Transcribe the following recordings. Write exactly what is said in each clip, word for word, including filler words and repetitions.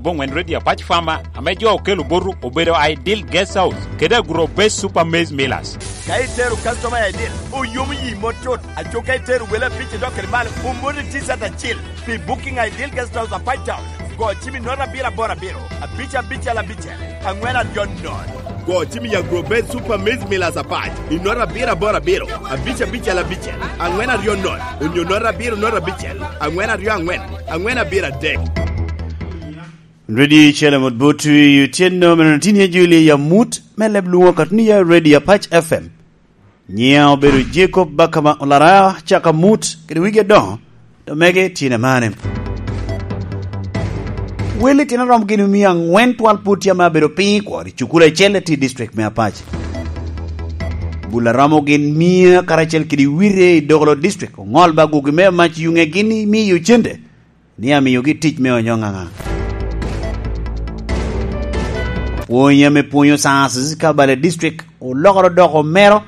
Boŋwen Redio Apac Fama ame jo okelo botu obedo Ideal Guest House kede Agro Best Super Maize Millers. Ka itero customer i Ideal, oyomo yi mot tut. Aco ka itero wele abic i dok kede malo, omoni T-shirt acil. Pi booking Ideal Guest House Apac Town, go cim i note abiro aboro abiro, abic abicel abicel, angwen aryo nono. Go cim i Agro Best Super Maize Millers Apac i note abiro aboro abiro, abic abicel abicel, angwen aryo nono, onyo note abiro note abicel, angwen aryo angwen, angwen abiro adek. Redio Shalom Mut Butu i otyeno meno tin ye Julia Yamut me leb lwoŋo katni ya Redio Apac F M. Nyiŋa obedo Jacob Bakama Olara, caka mut kede wigi adoŋo, to mege tyen amane. Wel itino romo gin omio aŋwen twal pwod tye ame abedo piny i kwor i cukul acel i district me Apac. Bul a romo gin mia karacel kede wire i Dogolo district oŋol ba gugi me mac yuŋe gin i miyo cente ni amiogi tic me onyo ŋaŋa. Pwony ame pwonyo sciences ka bale district olokoro doko mero,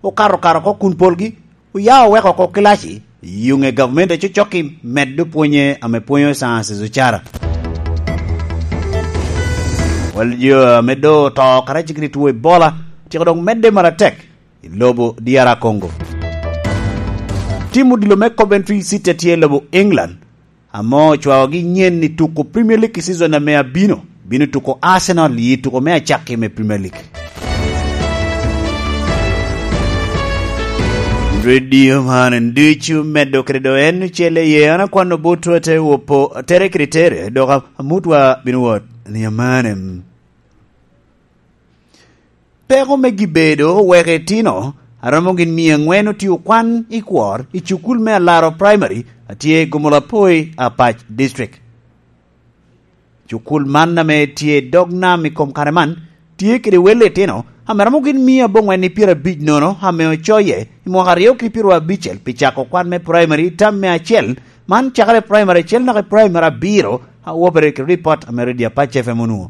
okato kare oko kun polgi oya oweko oko kilaci, yuŋe gavumenti acocokki medde pwonye ame pwonyo sciences ocara. Wal jo ame do oto kara cikiri two Ebola tyeko dok medde maratek i lobo D R Congo. Tim odilo me Coventry City tye i lobo England, ame ocwaogi nyen i tuko Premier League i season ame abino, bino tuko Arsenal i tuko me acakki me Premier League. Redio man en ducu medo kede do en ocele ye an akwano botwa te wopo tere kede tere, dok amutwa bino wot ni amane. Peko me gibedo oweko itino a romo gin mia aŋwen otye okwan i kwor i cukul me Alaro Primary a tye i Gomolapoi, Apac District. Cukul man ame tye i dog nam i kom kare man tye kede wel itino ame romo gin mia aboŋwen i pyerabic nono ame ocoye i mwaka aryo ki pyeraryo abicel pi cako kwan me primary tam me acel, man cakere primary acel naka i primary abiro, a wobere kede ripot ame Redio Apac F M onwoŋo.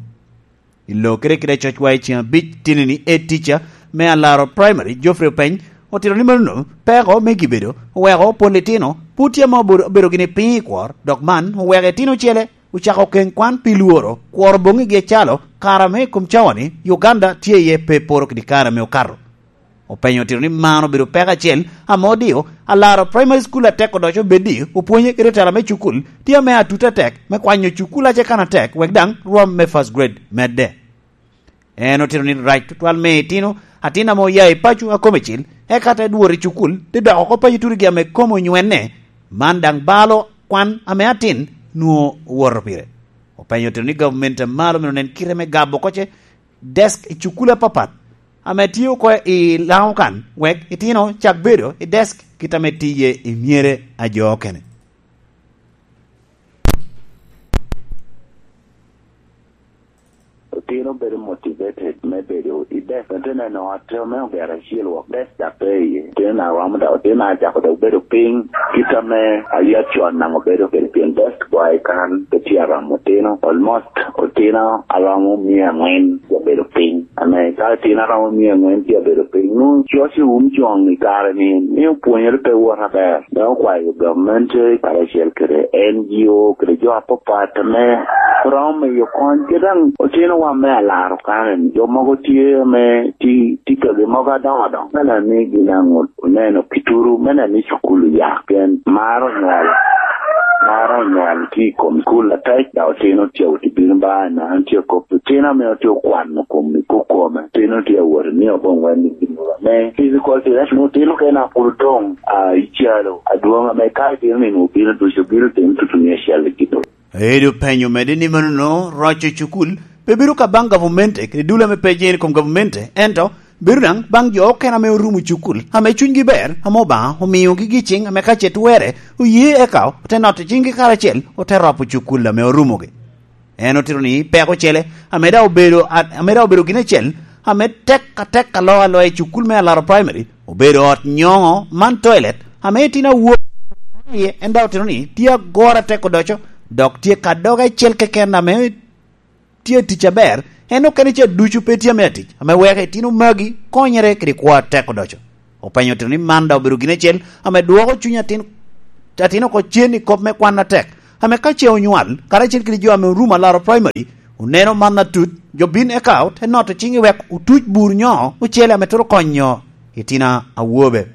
I lo kede kede cocwa i ceŋ abic tinini e tica me Alaro Primary, Geoffrey Openy, otito ni manono peko me gibedo oweko pol itino pwod tye ame obedo, obedo gini piny i kwor, dok man oweko itino ocele ocako keŋ kwan pi lworo kworo boŋigi acalo kare ame i kom cawa-ni Uganda tye iye pe poro kede kare ame okato. Openyo otito ni man obedo peko acel ame odio Alaro Primary School atek odoco beddi opwonye kede tela me cukul tye ame atut atek me kwanyo cukul ace kan atek wek daŋ rwom me first grade medde. En otito ni rac tutwal me itino atin ame oya i paco a kome cil, eka te dworo i cukul, te dok oko paco turigi ame kome onywenne, man daŋ balo kwan ame atin nwoŋo owoto pire. Openyo otito ni gavumenti a malo myero onen kite me gabo koce desk i cukul apapat ame tye oko i Laŋo kan, wek itino cak bedo i desk kit ame tiye i myere a jo okene. Otino bedo motivated me bedo i desk. Ate neno ot me ogero acel wok desk dok pe iye. Otino na romo dok, otino na cako dok bedo piny. Kit ame ayat con namo bedo kede pien desk boy kan pe tye aromo otino. Almost otino aromo mia angwen obedo piny. Ame ka otino aromo mia angwen tye abedo piny, nwoŋo coc i um coŋ i kare ni, ni opwonyere pe wot aber. Dok okwayo gamente karacel kede N G O kede jo apapat ame romo miyo kony. Kit daŋ otino wa me alaro kare ni, jo mogo tye ame ti, ti kagi mogo adoŋo adoŋo. Me neno ni gin aŋut oneno kituru, me neno ni cukul oya. Pien maro onywal, maro onywal tye i kom cukul atek, dok otino tye awot i bino ba, na an tye kop otino ame otye okwano kom i kokome. Otino tye awot i mio boŋ wen i gin ame physical direction. Otino kena pwod odoŋ, ah, i calo adwoŋ ame ka itino nino obino ducu, obino timo tutu ni acel i gin. Edo penyo medde ni manono roco cukul pe bedo ka baŋ gavumenti kede dul ame pe jeni kom gavumenti, ento bedo daŋ baŋ jo okene ame orumo cukul, ame cunygi ber, ame Obaŋa omiogi gi ciŋ ame ka ce twerre, oye eka ote noto ciŋgi karacel, ote ropo cukul ame orumogi. En otito ni peko ocele, ame daŋ obedo, ame daŋ obedo gin acel, ame tek atek alo aloya i cukul me Alaro Primary, obedo ot nyoŋo man toilet, ame itino awobi iye, en daŋ otito ni tye agoro atek odoco, dok tye ka doge acel keken ame tye tic aber, en okene ca ducu pe tye ame atic, ame weko itino magi konyere kede kwo atek odoco. Openyo otito ni man daŋ obedo gin acel ame dwoko cuny atin, atin oko cen i kop me kwan atek, Ame ka ce onywal, karacel kede jo ame orumo alaro praimari, oneno man atut, jo bin eka ote noto ciŋ i wek otuc bur nyo ocele ame twero konyo itina awobe.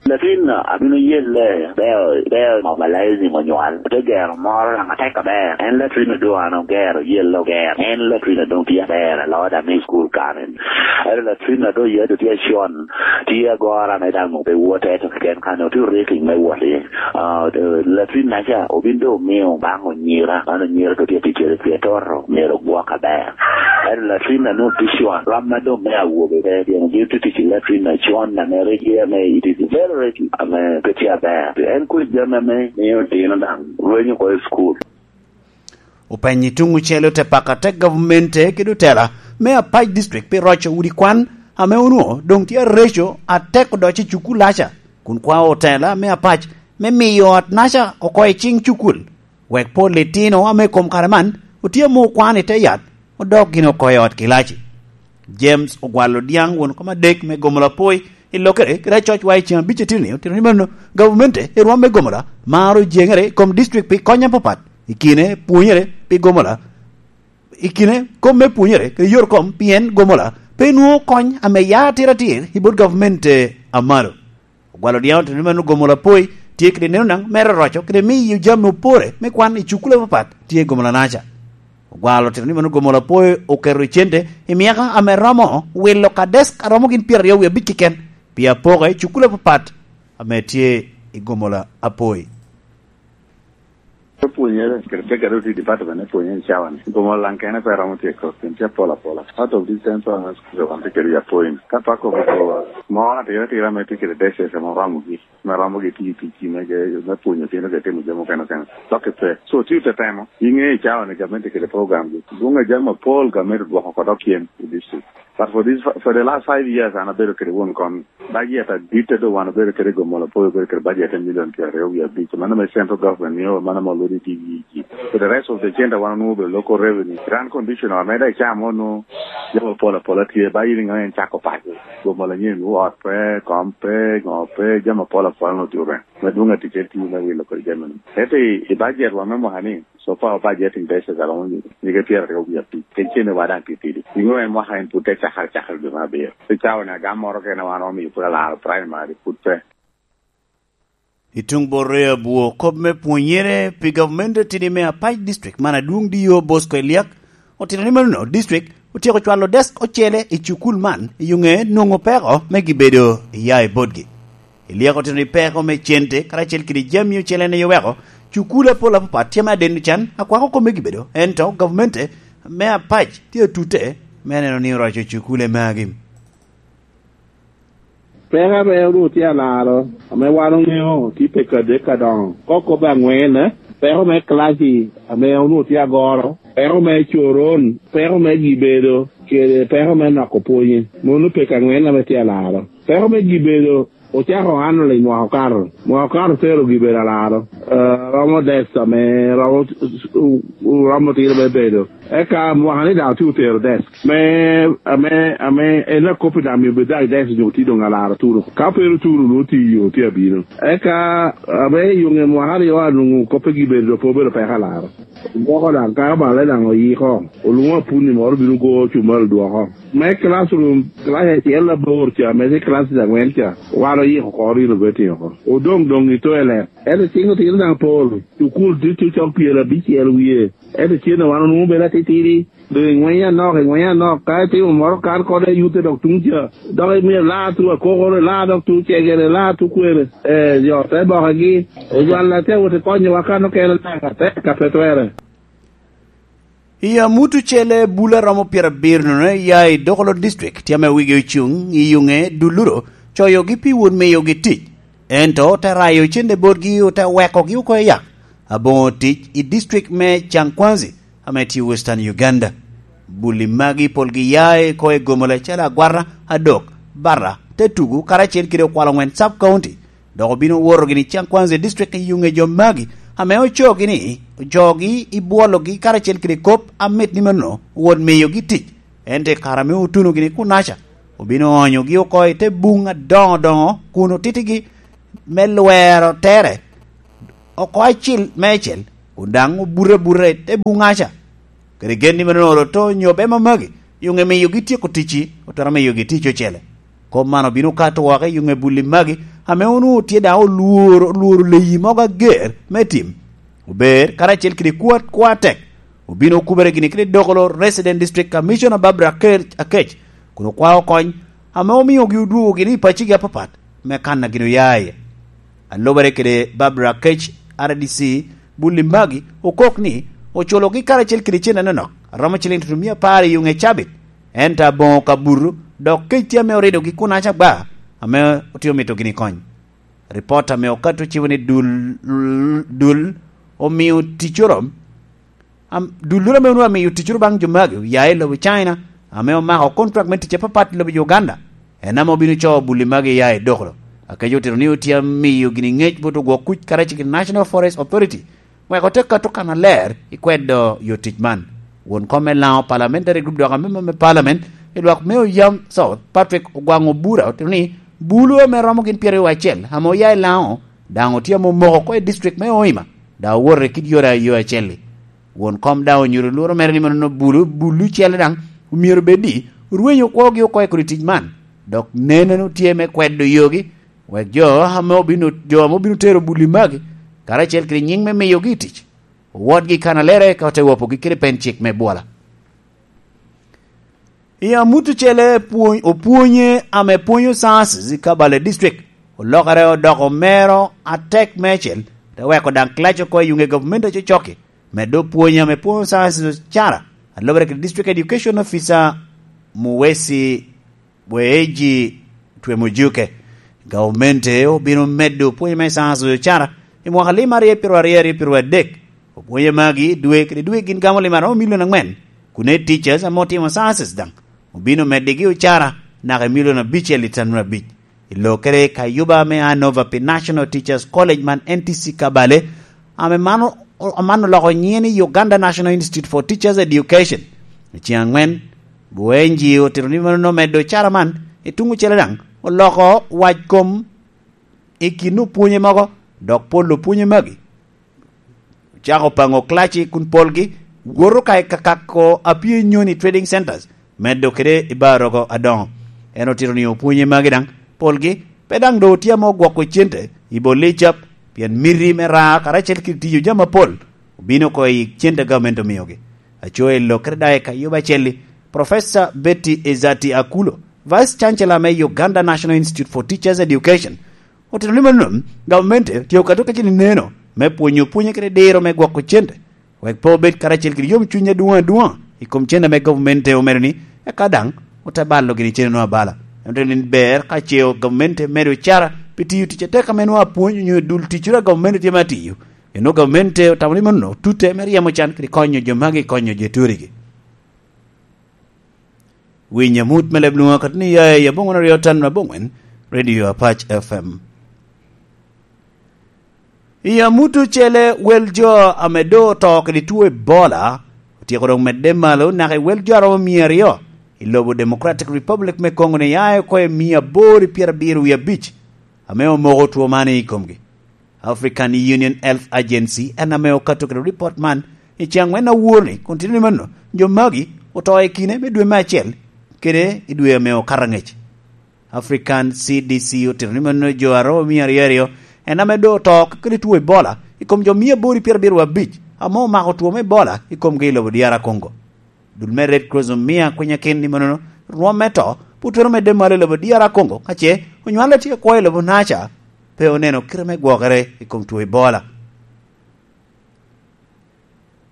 Latin abino yelle beo, beo mobilizing onywal, ote gero moro daŋ atek aber. En latin odo an ogero, yelle ogero. En latin odo tye aber, aloo daŋ i school karen. Ento latin ado yadde tye acon, tye agora me daŋ ope wote, to keken kan otye rating me wot iye. Ah, eh, latin naca obin doŋ omio baŋ onyira, man onyira to tye ticere tye toto, myero ogwok aber. Ento latin a nwoŋo tye con, ram ma doŋ me awobe pe, pien gin tye tic i latin acon, ame rik ame it is very rating, ame pe tye aber. En kuc jami ame mio dino daŋ rwenyo oko i school. Openyo i tuŋ ocele ote pako atek gavumenti kede otela me Apac District pi roco udi kwan ame onwoŋo doŋ tye areco atek odoco i cukulaca, kun kwao otela me Apac me miyo otnaca oko i ciŋ cukul, wek pol litino ame i kom kare man otye ame okwan i te yat, odok gin oko i ot kilaci. James Ogwal Odiaŋ, won kom adek me Gomola Apoi, i lokere kede acoc wa i ceŋ abic atino-ni, otito ni mano gavumenti i rwom me Gomola maro jeŋere i kom district pi kony apapat, i kine pwonyere pi Gomola, i kine kom me pwonyere kede yot kom, pien Gomola pe nwoŋo kony ame ya atir atir i bot gavumenti a malo. Ogwal Odiaŋ otito ni mano Gomola Apoi tye kede neno naŋ mere roco kede miyo jami opore me kwan i cukule apapat tye i Gomola naca. Ogwal otito ni mano Gomola Apoi oketo i cente i myaka ame romo wilo ka desk a romo gin pyeraryo wie abic keken pi apoka i cukule apapat ame tye i Gomola Apoi. Opwonyere, kede pek a doŋ tye i department me pwonyere i cawa-ni. Gomola daŋ kene pe romo tyeko, pien tye apol apola. Out of these ten thousand schools, wan tye kede i Apoi-ni. Ka pe akobo goba, mo atira atira ame tye kede desk ame oromogi, ame romogi tiyo ticgi me ge-, me pwonyo otino kede timo jami okene okene. Dok pe. So, tye tetemo, iŋeo i cawa-ni gamente kede program-gi. Dwoŋ a jami apol gamente odwoko oko dok cen i district. But for this, for the last five years, an abedo kede won kony. Budget adit a doŋ wan obedo kede i Gomola Apoi, obedo kede budget a million pyeraryo wie abic. Mano me central government mio, mano ame olwodo i D E G. For the rest of the center, wan onwoŋo obedo local revenue. Run condition, ame daŋ icamo onwoŋo jami apol apola tye, ba in iŋeo en cako paco. Gomola nyen, ot pe, kom pe, ŋo pe, jami apol apola onwoŋo tye orem. Me dwoŋ aticel tye me wilo kodi jami-ni. Ento i, i budget wa me mwaka-ni, so far budgeting basis aromo nyige pyeraryo wie abic. Kec cene wa daŋ titidi. Iŋeo en mwaka en pud te cakere, cakere dwe me abiro. Pi cawa-ni agam moro kene wan omiyo pwod alaro primary, pud pe. I tuŋ bot ryo abwo, kop me pwonyere pi gavumenti atidi me Apac District man adwoŋ D O Bosco Eliak otito ni mano district otyeko cwalo desk ocele i cukul man, i yo ŋe nwoŋo peko me gibedo iya i botgi. Eliak otito ni peko me cente karacel kede jami ocele en aye oweko cukul apol apapat tye ame adeno can akwako kop me gibedo, ento gavumenti me Apac tye atute me neno ni oroco cukule magi. Peko ame onwoŋo tye alaro, ame wan oŋeo, tye peko adek adoŋo. Ka okobe aŋwen, peko me kilaci ame onwoŋo tye agoro, peko me coron, peko me gibedo, kede peko me noko pwonye. Mano peko aŋwen ame tye alaro. Peko me gibedo ocako annually mwaka okato. Mwaka okato tero gibedo alaro, eh, romo desk ame romo, romo tino me bedo. Eka mwaka ni daŋ otye otero desk. Me, ame, ame en akop i daŋ myero bed daŋ i desk nyo tye doŋ alaro turo. Ka pe oturo, nwoŋo tye i yo, tye abino. Eka, ame i yo ŋe mwaka aryo anwoŋo koppe gibedo doŋ pe obedo peko alaro. Gwoko daŋ ka bale daŋ oyiko, olwoŋo apunni moro bino go cumal dwoko. Me classroom, class acel abor ca, me tye classes angwen ca, wan oyiko oko, renovating oko. Odoŋ doŋ i toilet. Ento cing otino daŋ pol, cukul tye tye cok pyerabicel wie. Ento cen wan onwoŋo bedo atitidi, doŋ ingwenyo anok, ingwenyo anok, ka itimo moro kan kode yute dok tuŋ ca, dok imito laa tu akokoro, laa dok tu cegere, laa tu kwene. Eh, jo te bokagi, ojwal ate wot i konyowa kan okene daŋ atek ka pe twere. I amut ocele, bul a romo pyerabiro nono ya i Dokolo District tye ame wigi ocuŋ i yuŋe duluro coyogi pi wot miyogi tic, ento te rayo cente botgi, ote wekogi oko i yak aboŋo tic i district me Changkwanzi ame tye Western Uganda. Bul-li magi polgi ya i ko i Gomola calo Agwara, Adok, Barra, Tetugu, karacel kede Okwalo Ŋwen Sub County. Dok obino woto gini Changkwanzi District i yuŋe jo magi, ame ocoo gini, ocoogi i bwologi karacel kede kop amit ni mano, wot miyogi tic. Ento i kare ame otuno gini kunaca, obino onyogi oko i te buŋ adoŋo doŋo kun otitigi me lwero tere. oko acil meicel, kun daŋ obuto abuta i te buŋaca. Kede gen ni mano olo to nyo bema magi, yuŋ emiyogi tyeko ticci, otwero miyogi tic ocele. Kop man obino kato woko i yuŋ ebulli magi, ame onwoŋo tye daŋ olworo, olworo leyi mogo ager me tim. Ober, karacel kede kwat, kwa tek, obino okubere gini kede dokolo Resident District Commissioner Barbara Ker-, Akec, kun okwao kony, ame omiogi odwogo gini i paccigi apapat, me kan a gin oya iye. Alubere kede Barbara Akec, R D C, bulli magi, okok ni, oculogi karacel kede cen anonok, a romo ciling tutumia apar i yuŋ e cabit, ento aboŋo ka buto, dok kec tye ame oridogi kun aca gba, ame otye omito gini kony. Ripot ame okato cibo ni dul, dul omio ticoro, am, dulloro ame onwoŋo amiyo ticoro baŋ jo magi oya i lobo China, ame omako kontrak me tic apapat i lobo Uganda, en ame obino coo bulli magi iya i dokolo. Akec otito ni otye amiyo gini ŋec bot ogwok kuc karacel kede National Forest Authority, wek ote kato kan aler i kwedo yo tic man. Won kom me Laŋo Parliamentary Group dok ame me Parliament i lwak me Oyam South, Patrick Ogwaŋ Obura, otito ni bulu ame romo gin pyeraryo acel ame oya i Laŋo daŋ otye ame omoko oko i district me Hoima, daŋ owoto i kit yore a yo acel-li. Won kom daŋ onyuto lworo mere ni mano bulu, bulu cele daŋ omyero bed ni orwenyo kwogi oko i kodi tic man, dok neno ni tye me kwedo yogi, wek jo ame obino, jo ame obino tero bulli magi, karacel kede nyiŋ me miyogi i tic, owotgi i kanalere ka ote wopogi kede pen cik me bwola. I amut ocele, pwony, opwonye ame pwonyo sciences i Kabale District olokere odoko mero atek meicel, te weko daŋ clash oko i yuŋe gavumenti acocokki, medo pwonye ame pwonyo sciences ocara, alobere kede District Education Officer Muwesi Bweji Twemujuke. Gavumenti obino medo pwonye me sciences ocara i mwaka lim aryo pyeraryo aryo pyeraryo adek. Opwonye magi dwe kede dwe gin gamo lim aromo milion angwen, kun i teachers ame otimo sciences daŋ obino meddigi ocara naka i milion abicel i tanura abic. I lokere ka yuba me Anova pi National Teachers College man N T C Kabale, ame man o-, man oloko nyiŋe ni Uganda National Institute for Teachers Education. I ceng angwen, Buenji otito ni mano omedo ocara man, i tuŋ ocele daŋ oloko wac kom i kin opwonye mogo, dok pol opwonye magi ocako paŋo class kun polgi woto ka i kakako a pye nyoni trading centers, medo kede i bar rogo adoŋo. En otito ni opwonye magi daŋ, polgi pe daŋ doŋ otye ame ogwoko cente i bol licap, pien miti me raa karacel kede tiyo jami apol obino oko i cente a gavumenti omiogi. Aco i lokere daŋ i kayuba acelli, Professor Betty Ezati Akulo, Vice Chancellor me Uganda National Institute for Teachers Education, otito ni mano gavumenti tye okato kacel i neno me pwonyo pwonye kede diro me gwoko cente, wek pe obed karacel kede yomcuny adwoŋ adwoŋ i kom cente ame gavumenti omedo ni, eka daŋ ote balo gini cente-nu abala. En otito ni ber ka ce gavumenti medo ocara pi tiyo tic atek ame nwoŋo apwony onyo dul ticcoro a gavumenti tye me atiyo. Eno gavumenti otamo ni mano tute me ryemo can kede konyo jo magi, konyo jo turigi. Winy amut me leb lwoŋo akati ni ya i aboŋwen aryo tan aboŋwen, Radio Apac F M. I amut ocele, wel jo ame doŋ oto kede two Ebola otyeko doŋ medde malo naka i wel jo aromo mia aryo i lobo Democratic Republic me Congo ni ya oko i mia aboro i pyerabiro wie abic ame omoko two man i komgi. African Union Health Agency en ame okato kede ripot man i ceng angwen awor-ni, kun tito ni mano jo magi oto i kine me dwe me acel kede i dwe ame okato angec. African C D C otito ni mano jo aromo mia aryo aryo en ame doŋ oto kede two Ebola i kom jo mia aboro i pyerabiro abic ame omako two me Ebola i komgi i lobo D R Congo. Dul me Red Cross omio akwinya kin ni mano rwom me to pwod twero medde malo i lobo D R Congo, ka ce onywale tye akwo i lobo Niger, pe oneno kite me gwokere i kom two Ebola.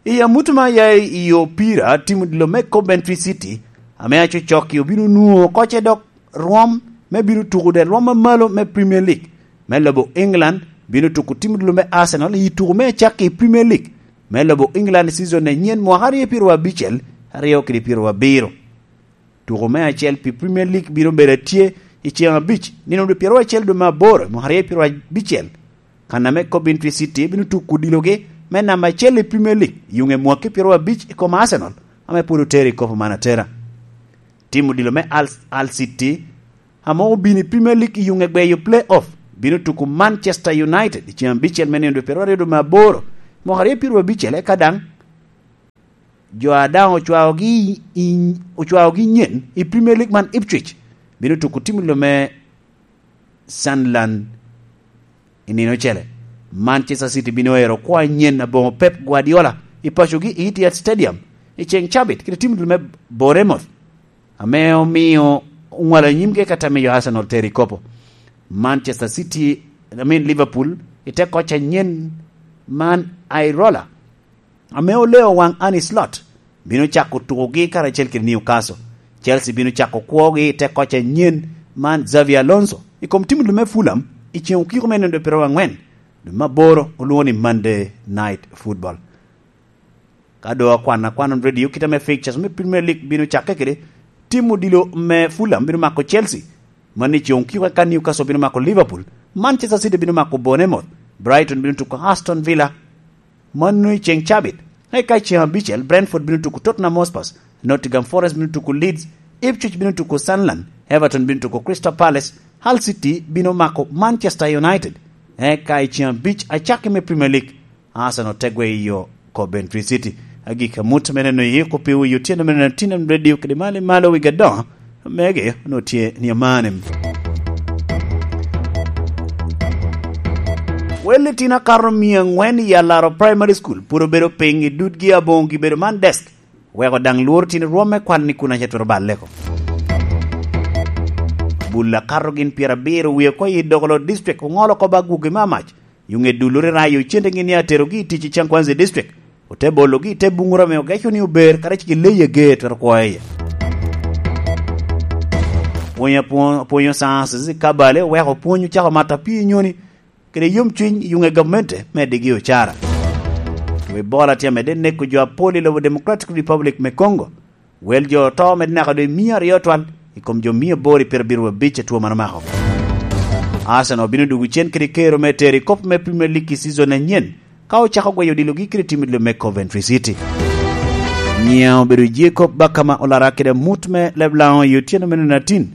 I amut ma ya i opira, tim odilo me Coventry City ame acocokki obino nwoŋo oko ce dok rwom me bino tuko de rwom ma malo me Premier League me lobo England, bino tuko tim odilo me Arsenal i tuko me acakki i Premier League me lobo England season anyen mwaka aryo pyeraryo abicel, aryo kede pyeraryo abiro. Tuko me acel pi Premier League bino bedo atye i ceŋ abic, nino dwe pyeraryo acel dwe me aboro, mwaka aryo pyeraryo abicel. Kan ame Coventry City bino tuko odilogi me namba acel i Premier League, yuŋe mwaki pyeraryo abic i kom Arsenal, ame pwod otero i kopo man atera. Tim odilo me Al, Al City, ame obino i Premier League i yuŋe gweyo play off, bino tuko Manchester United i ceng abicel me nino dwe pyeraryo dwe me aboro, mwaka aryo pyeraryo abicel, eka daŋ jo a daŋ ocwaogi i, i, ocwaogi nyen i Premier League man, Ipswich bino tuko tim i lome Sunderland i nino ocele. Manchester City bino ero kwo anyen aboŋo Pep Guardiola i pacogi i Etihad Stadium i ceŋ cabit kede tim i lome Bournemouth, ame omio oŋwalo anyimgi eka te miyo Arsenal tero i kopo. Manchester City, I mean Liverpool, i te koc anyen man Iraola, ame oleo waŋ Arne Slot, bino cako tukogi karacel kede Newcastle. Chelsea bino cako kwogi i te koc anyen man Xabi Alonso i kom tim i lome Fulham i ceŋ okiko me nino dwe pyeraryo angwen dwe me aboro, olwoŋo ni Monday Night Football. Ka doŋ akwano akwana radio, kite me fixtures me Premier League bino cakke kede, tim odilo me Fulham bino mako Chelsea, mano i ceŋ okiko, eka Newcastle bino mako Liverpool, Manchester City bino mako Bournemouth, Brighton bino tuko Aston Villa, mano i ceŋ cabit. Eka i ceŋ abicel, Brentford bino tuko Tottenham Hotspur, Nottingham Forest bino tuko Leeds, Ipswich bino tuko Sunderland, Everton bino tuko Crystal Palace, Hull City bino mako Manchester United. Eka i ceŋ abic acakki me Premier League, Arsenal te gweyo Coventry City. Agikki amut me neno yiko pi wi otyeno me nino tin radio kede malo i malo wi gadoŋo mege onwoŋo tye ni amane. Wel litino akato mia angwen i Alaro Primary School pwod obedo piny i dudgi aboŋo gibedo man desk, weko daŋ lworo tin rwom me kwan ni kun ace twero balle oko. Bul akato gin pyerabiro wie oko i Dogolot District oŋolo oko ba gwogi me amac. Yo ŋe duloro i rayo cente gin ni aterogi i tic i Cangkwanzi District, ote bologi i te buŋoro ame ogeco ni ober, kara cik i leyi age twero kwo iye. Pwony apwo-, apwonyo sciences i Kabale oweko pwony ocako mato apii nyoni kede yomcwiny i yo ŋe gamente me digi ocara. Wi bola tye amedde neko jo apol i lobo Democratic Republic me Congo. Wel jo oto medde naka doŋ mia aryo twal i kom jo mia aboro i pyerabiro abic a two man omako. Arsenal bino dwogo cen kede kero me tero i kop me Premier League i season anyen, ka ocako gweyo odilogi kede tim i lum me Coventry City. Nyiŋa obedo Jacob Bakama Olara kede amut me Leblaŋo i otyeno me nino atin.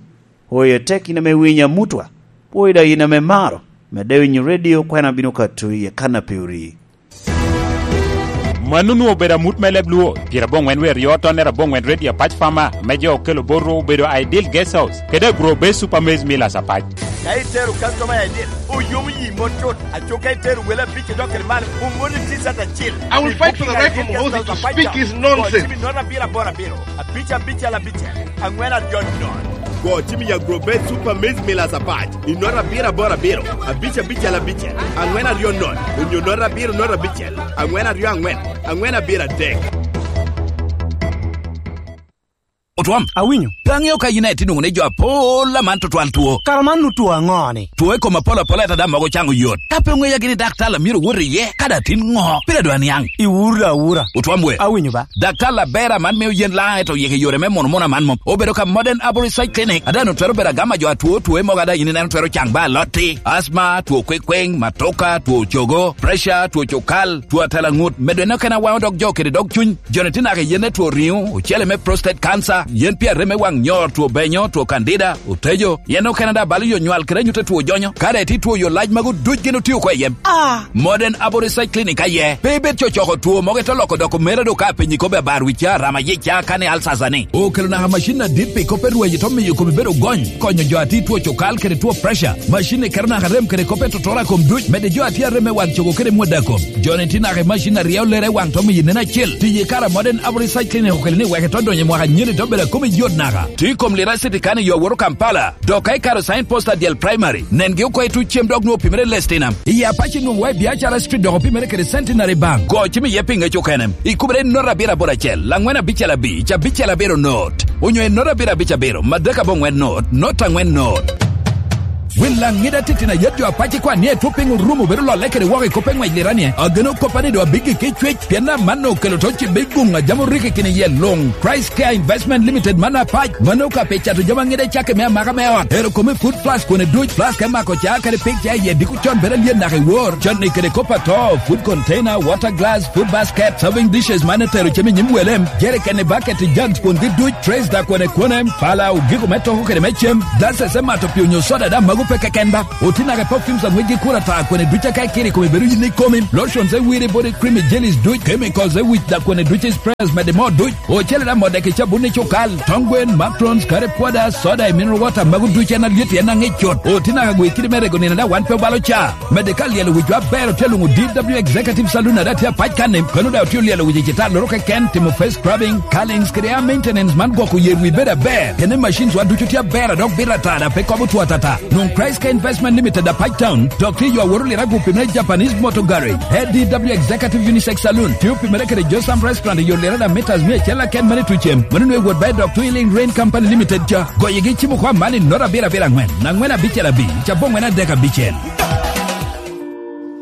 Oyo tek in ame winyo amutwa, pwoyo daŋ in ame maro, medde winyo radio kwena bino kato i akana pe ori. Mano onwoŋo obedo amut me leb Luo, pyerabongwen wer yo tonnere abongwen Radio Apac Fama, ame jo okelo bot Rwo obedo Ideal Guest House, kede Agro Base Super Maize Millers Apac. Ka itero customer i Ideal, oyomo yi mot cut, aco ka itero wele abic odok kede malo, oŋolli T-shirt acil. I booking Ideal Guest House Apac Town, go cim i nono abiro aboro abiro, abic abicel abicel, angwen aryo nono. Go cim i Agro Base Super Maize Millers Apac. I nono abiro aboro abiro, abic abicel abicel, angwen aryo nono, onyo nono abiro nono abicel, angwen aryo angwen, angwen abiro adek. Otwom. Awinyo. Pe aŋeo ka in aye tye nwoŋo ni jo apol aman tutwal two. Kara man nu two aŋo ni? Two i kom apol apol ata daŋ mogo caŋo yot. Ka pe oŋeya gini dak tal a myero owot iye, ka daŋ tin ŋo? Pire dwa niaŋ. Iwuro da awura. Otwom we. Awinyo ba. Daktar aber aman mio yen laŋ, ento yik i yore me mono mono aman mom. Obedo ka Modern Arborist Side Clinic, a daŋ otwero bedo agama jo atwo twoe mogo, a daŋ in ineno twero caŋ ba alotti, asma, two kwekweŋ, matoka, two cogo, pressure, two cukal, two atela ŋut, medo en okene awaŋo dog jo kede dog cuny. Joni tye naka i yen me two riŋo, ocele me prostate cancer, yen pi arem me waŋ nyor, two benyo, two candida, otejo, yen okene daŋ balo yo nywal kede anyut a two jonyo. Ka daŋ itye two yo lac magu duc gin otio oko i yen. Ah! Modern Aboriginal Clinic aye. Pe ibed cocoko two mogo ite loko doko mera do ka apenyi kobbe abar wicca, rama yicca, kane alsasa ni. Okelo naka macin adit pi kop me rwenyo to miyo komi bedo gony, konyo jo a tye two cukal kede two pressure. Macin ni keto naka rem kede kop me totora kom duc, medde jo a tye arem me wang cogo kede mwada kom. Joni tye naka i macin a ryeo lere i wang to miyo nen acel. Tiyo i kare a Modern Aboriginal Clinic okelo ni wek ito donyo i mwaka anyeni to bedo akomi yot naka. Tye i kom lira city kan i yo awoto Kampala. Dok ka ikaro sign post adyel primary, nengi oko i tuc cem dok nwoŋo opimere Lestinam. I Apac nwoŋo wa i Biacara Street dok opimere kede Centenary Bank. Go cim iye pi ŋec okene. Ikubere i not abiro aboro acel, angwen abicel abic, abicel abiro not. Onyo i not abiro abic abiro, madek abongwen not, not angwen not. Wil laŋ ŋida titino ayet jo Apac ikwan ni etwo piny orumo bedo lolle kede woko i kop me ŋwec lira ni, ageno koppa ni do abiggi ki cwec, pien amanno okelo to cibbe i guŋ a jam oriki kini iye luŋ. Price Care Investment Limited man Apac. Mano ka pe cato jami aŋida cakke me amaka me ot. Ero kome food flask kone duc, flask me mako ca kede pik ca iye diko con bedo alyen naka i wor. Con ni kede kop ato, food container, water glass, food basket, serving dishes man etero cem i nyim welem, jerrycan i bucket i jugs kwongi duc, trays da kone kwonem, pala, ogiko me toko kede me cem, glasses me mato pi onyo soda da mago Pe keken ba, otinaka perfumes a ŋwecgi kur ata, kwene duc a ka ikiro i kome bedo yin i komi, lotions e wiri, body cream i jellies duc, chemicals e wic, da kwene duc i sprays mede moo duc, ocele da modek i cabun i cukal, tong gwen, macarons, curry powder, soda i mineral water, magu duc en alyet, en aŋic cut. Otinaka gwe kidi me rego nino da wan pe obalo ca. Mede ka lyelo wicwa aber, otye luŋo D W Executive Saloon a da tye apac kan-ni, kono da otye olyelo wic i citalloro keken, timo face scrubbing, curlings kede hair maintenance man gwoko yer wi bedo aber. Kene machines wa ducu tye aber, a dok bito ata, da pe kobo two atata. Nwoŋo Christ Care Investment Limited, Apac Town, dok tye yo aworo lira gupi me Japanese Motor Garage. A D W Executive Unisex Saloon, tye opimere kede Josam Restaurant i yo lira da meters mia acel aken mene tucem. Mano nwe wot ba i dok Twin Link Rain Company Limited ca. Goyegi cimo kwa mali not abiro abiro aŋwen, aŋwen abicel abic, ca bongwen adek abicel.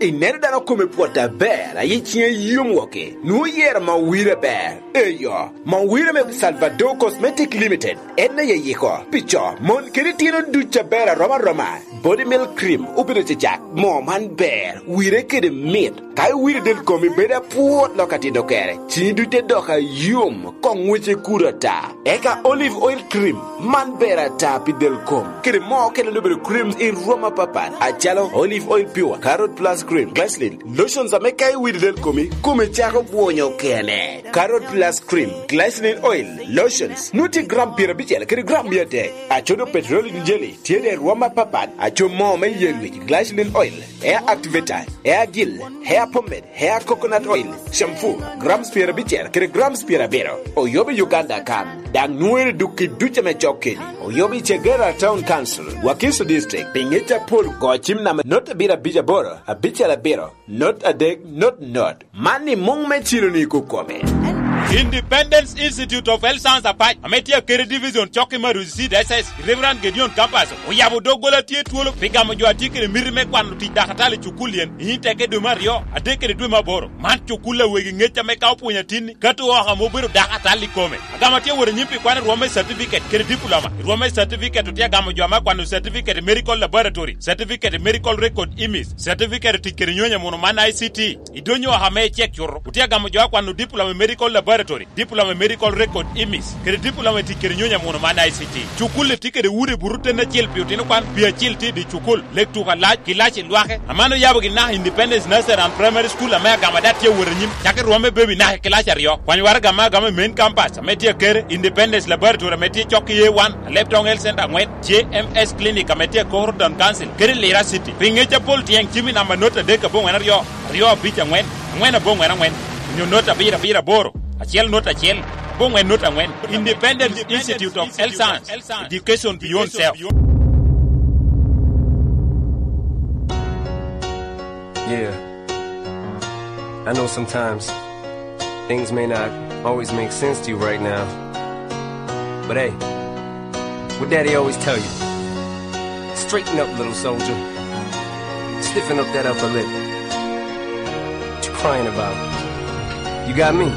Ineno dano kome pwot aber, a yi ciŋe yom woki, nwoŋo yero ma wire ber. Eyo, ma wire me Salvador Cosmetic Limited. En aye yiko pi co, mon kede itino duc aber aroma aroma. Body Milk Cream obedo cecak. Moo man ber, wire kede mit. Ka iwiro del komi bedo apwot lok atito kere, cini duc te dok ayom, koŋ ŋwece kur ata. Eka Olive Oil Cream, man ber ata pi del kom. Kede moo okene obedo creams i rwom apapat, acalo Olive Oil Pure, Carrot Plus Cream, Glycerin, lotions ame ka iwiro del komi, kome cako bwonyo kene. Carrot Plus Cream, Glycerin Oil, Lotions, nwoŋo tye gram pyerabicel kede gram mia adek. Acodo petroleum jelly tye de i rwom apapat, aco moo me yen wic, glycerin oil, hair activator, hair gel, hair pomade, hair coconut oil, shampoo, grams pyerabicel kede grams pyerabiro. Oyobo i Uganda kan, daŋ nwoŋere duk i duc ame cok keni. Oyobo i Kagera Town Council, Wakiso District, pi ŋec apol go cim namba not abiro abic aboro, abicel abiro, not adek, not not. Man i muŋ me cilo-ni kokome. Independence Institute of Health Science Apac, ame tye akede Division cok i Maruzi C D S S, Reverend Gideon Campus, oyabo doggola tye twolo pi gamo jo a tye kede miti me kwano tic dakatali i cukul yen, i teke dwe me aryo, adek kede dwe me aboro. Man cukul a wegi ŋec ame ka opwonyo atinni, kato oko ame obedo dakatali i kome. Agamo tye wot anyim pi kwano i rwom me certificate kede diploma. I rwom me certificate otye agamo jo ame akwano certificate i medical laboratory, certificate i medical record imis, certificate i tic kede nyonyo muno man I C T. I dony oko ame icek cuto, otye agamo jo akwano diploma i medical laboratory, diploma i medical record imis, kede diploma i tic kede nyonyo muno man I C T. Cukul-li tye kede udi buto ten acel pi otino kwan, pi acel tye i dye cukul, lek tuko alac, kilaci lwake. Aman oyabo gin naka Independence Nursery and Primary School ame agamo ada tye awot anyim, cako i rwom me baby naka i kilaci aryo. Kwany waraga ame agamo i main campus ame tye akere, Independence Laboratory ame tye cok i A one, Leptong Health Center aŋwen, J M S Clinic ame tye akoro Town Council, kede Lira City. Pi ŋec apol tyeŋ cim i namba not adek aboŋwen aryo, aryo abic aŋwen, aŋwen aboŋwen aŋwen, onyo not abiro abiro aboro, acel not acel, aboŋwen not aŋwen. Independence Institute of Health Science, Education Beyond Self. Yeah. I know sometimes things may not always make sense to you right now. But hey, what daddy always tell you? Straighten up, little soldier. Stiffen up that upper lip. What you crying about? You got me.